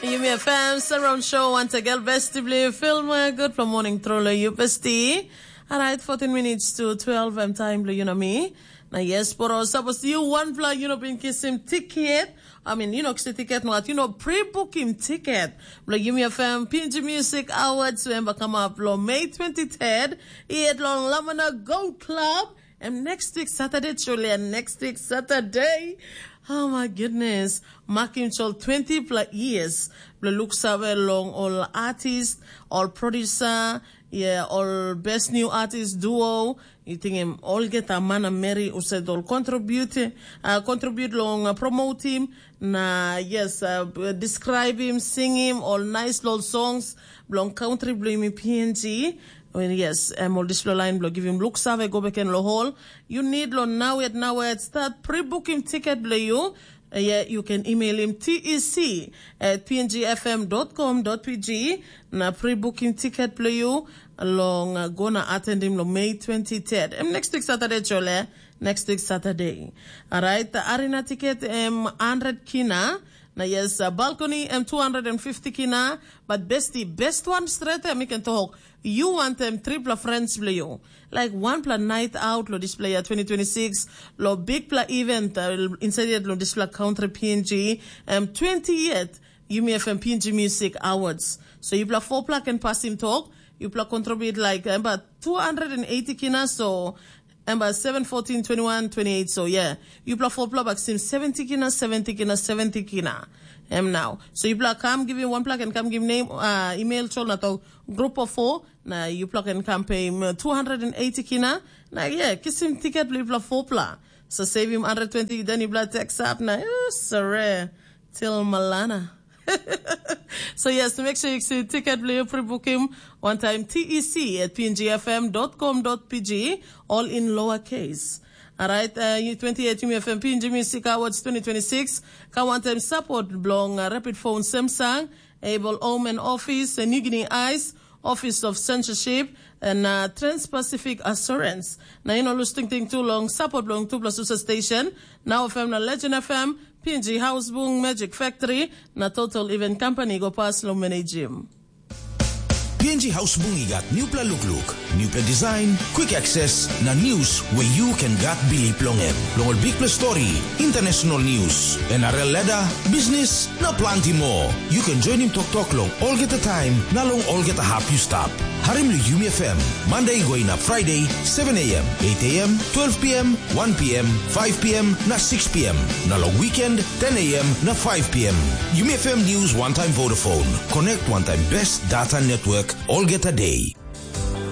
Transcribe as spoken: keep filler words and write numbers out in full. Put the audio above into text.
Yumi F M Surround Show once again, besti bli film uh, good for morning through you besti. Alright, fourteen minutes to twelve, I'm time bli you know me. Na yes, poro, suppose you one bla you know been kiss him ticket. I mean, you know, kiss ticket, not you know, pre-book him ticket. Bla Yumi F M P N G Music Awards, remember come up lo May twenty-third. Iet long Lamana Goat Club. And next week Saturday, Julia, next week Saturday. Oh my goodness. Makim chol twenty plus years. Bla look save long all artist, all producer, yeah, all best new artist duo. You think him all get a man and Mary who said all contribute, uh, contribute long uh, promote him. Na yes, uh, describe him, sing him, all nice little songs. Belong country, belong me P N G. Well, yes, em ol dispela lain bilong givim luksave go beken long hol. You need lo now yet now yet start pre-booking ticket bilong you. Uh, yeah, you can email him T E C at P N G F M dot com dot P G. Na pre-booking ticket bilong you long uh, go na attend him long May twenty-third. Em next week Saturday, chole. Next week Saturday. Alright, the arena ticket em one hundred kina. Na yes, uh, balcony em two hundred fifty kina. But besti, best one straight em you can talk. You want them triple friends bilong you. Like one pla night out lo display ya twenty twenty-six, lo big pla event uh, inside yet lo display country P N G, um, twenty yet, Yumi F M P N G Music Awards. So you pla four pla can pass him talk, you pla contribute like uh, about two hundred eighty kina, so and about seven, fourteen, twenty-one, twenty-eight. So yeah, you pla four pla back sim seventy kina, seventy kina, seventy kina. Em now. So you pla come give him one pla can come give name, uh, email chol na talk group of four. Na yupela ken kam peim uh, two hundred eighty kina. Na yeah, kisim tiket bilong yupela four pla. So save him one hundred twenty, then yupela text up na uh, sere till Malana. So yes, make sure you see ticket bilong you pre-book him one time T E C at P N G F M dot com dot P G, all in lower case. Alright, uh, you twenty-eight Yumi F M P N G Music Awards twenty twenty-six. Ka one time support belong uh, Rapid Phone Samsung, Able Home and Office, uh, New Guinea Eyes, Office of Censorship, and uh, Trans-Pacific Assurance. Na you know, lose ting ting too long, support long two plus usa station. Now F M na Legend F M, P N G House Bung, Magic Factory, na Total Event Company go pass long manage him. P N G House Bung i gat newpela lukluk, newpela design, quick access, na news where you can gat bilip long em. Long ol bikpela story, international news, N R L ladder, business, na planti moa. You can join him toktok long olgeta time na long olgeta hap you stap. Harim long Yumi F M, Monday going up Friday, seven a.m., eight a.m., twelve p.m., one p.m., five p.m. na six p.m. Na long weekend, ten a.m. na five p.m. Yumi F M News one time Vodafone. Connect one time best data network olgeta day.